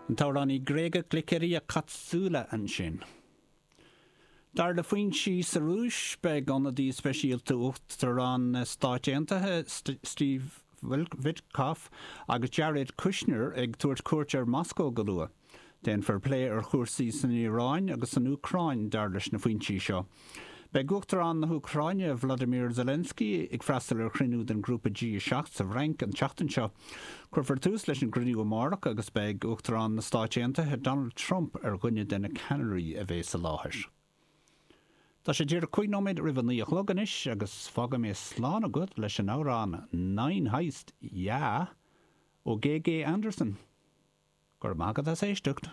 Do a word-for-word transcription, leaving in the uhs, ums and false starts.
An t-amhránaí Gréagach Glykeria Katsoula ansin. Dar le foinsí sa Rúis beidh ionadaí speisialta Uachtarán na Stát Aontaithe Steve Witkoff agus Jared Kushner ag tabhairt cuairt ar Moscó go luath. Déanfar plé ar chúrsaí san Iaráin agus san Úcráin dar leis na foinsí seo. Beidh Uachtarán na hÚcráine Vladimir Zelensky ag freastal ar chruinniú den grúpa G a seacht sa Fhrainc an tseachtain seo. Cuirfear tús leis an gcruinniú amárach agus beidh Uachtarán na Stát Aontaithe Donald Trump ar dhuine de na ceannairí a bheas i láthair. Tá sé díreach cúig nóiméad roimh a naoi a chlog anois agus fágfaidh mé slán agat leis an amhrán Nine Heist Yeah ó Gégé Anderson. Go raibh maith agat as éisteacht.